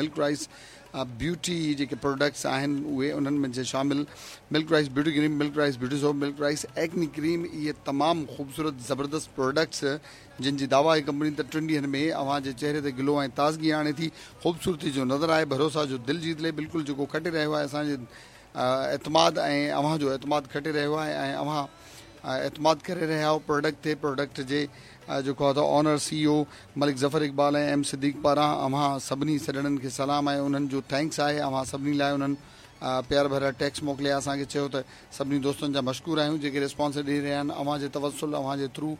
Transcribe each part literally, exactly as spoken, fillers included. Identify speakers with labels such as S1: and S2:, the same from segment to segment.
S1: ملڪ rice beauty جيڪي products آهن اهي انهن ۾ شامل Milk Rice beauty cream, Milk Rice beauty soap, Milk Rice acne cream, اهي تمام خوبصورت زبردست پروڊڪٽس جن جي دعويٰ آهي ڪمپني ته ٽن ڏينهن ۾ اوهان جي چهري تي گلو ۽ تازگي آڻي ٿي، خوبصورتي جو نظر آهي، ڀروسا جو دل جيت لي. بلڪل جيڪو کٽي رهيو آهي اسان جي اعتماد ۽ اوهان جو اعتماد کٽي رهيو آهي ۽ اوهان اعتماد ڪري رهيا آهيو پروڊڪٽ تي. پروڊڪٽ جي جيڪو آهي ته owner C E O Malik Zafar Iqbal ۽ M Siddique پاران اوهان سڀني سڄڻن کي سلام ۽ انهن جو thanks آهي اوهان سڀني لاء. انهن پيار ڀريا ٽيڪس موڪليا اسان کي، چيو ته سڀني دوستن جا مشڪور آهيون جيڪي ريسپانس ڏئي رهيا آهن اوهان جي توسل، اوهان جي ٿرو،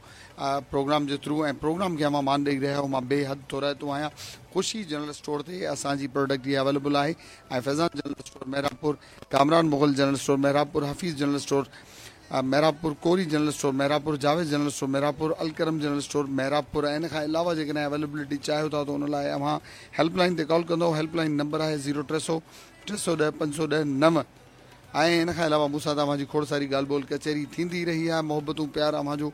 S1: پروگرام جي ٿرو ۽ پروگرام کي اوهان مان ڏئي رهيا آهيو. مان بي حد ٿورائتو آهيان. خوشي جنرل اسٽور تي اسان جي پروڊڪٽ اها اويليبل آهي ۽ Faizan general store Mehrabpur, Kamran Mughal general store Mehrabpur, Hafeez general store Mehrabpur, Kori general store Mehrabpur, Javed general store Mehrabpur, Alkaram general store Mehrabpur. ۽ ان کان علاوه جيڪڏهن اويليبلٽي چاهيو ٿا ته ان لاء اوهان هيلپ لائن تي ڪال ڪندو. هيلپ لائن نمبر آهي زيرو ٽي سؤ ٽي سؤ ڏهه پنج سؤ ڏهه نو. ۽ ان کان علاوه مون سان توهان جي کوڙ ساري ڳالهه ٻولهه ڪچهري ٿيندي رهي آهي. محبتون پيار اوهان جو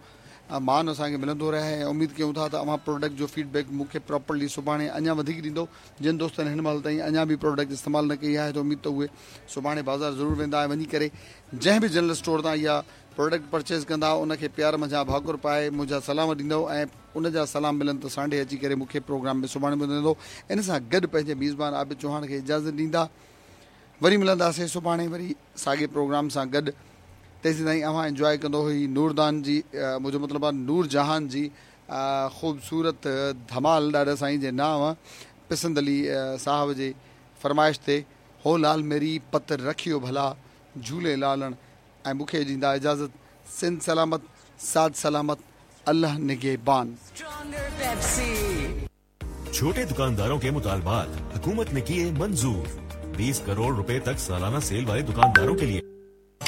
S1: مان اسان کي ملندو رهي آهي ۽ اميد ڪيون ٿا ته اوهان پروڊڪٽ جو فيڊ بيڪ مون کي پراپرلي سڀاڻي اڃا وڌيڪ ڏيندو. جن دوستن هن مهل تائين اڃا به پروڊڪٽ استعمال نه ڪئي آهي ته اميد ته اهي سڀاڻي بازار ضرور ويندا ۽ وڃي ڪري جنهن به جنرل اسٽور تان اها پروڊڪٽ پرچيز ڪندا ان کي پيار منجهان ڀاڪر پائي منهنجا سلام ڏيندو ۽ ان جا سلام ملن ته سانڍي اچي ڪري مون کي پروگرام ۾ سڀاڻي ٻڌائيندو. ان سان گڏ پنهنجي ميزبان عابد چوهاڻ کي اجازت ڏيندا. وري ملنداسين سڀاڻي وري ساڳي پروگرام سان گڏ. تيسين تائين اوهان انجواء ڪندو هي نوردان جي، منهنجو مطلب آهي نور جهان جي خوبصورت ڌمال ڏاڏا سائين جي نانء پسند علي صاحب جي فرمائش تي هو لال ميري پت رکيو ڀلا جهولي لالڻ. ۽ مون کي ڏيندا اجازت. سنڌ سلامت، ساٿ سلامت، الله نگهبان.
S2: छोटे दुकानदारों के मुतालबात हुकूमत ने किए मंजूर। बीस करोड़ रुपए तक सालाना सेल वाले दुकानदारों के लिए।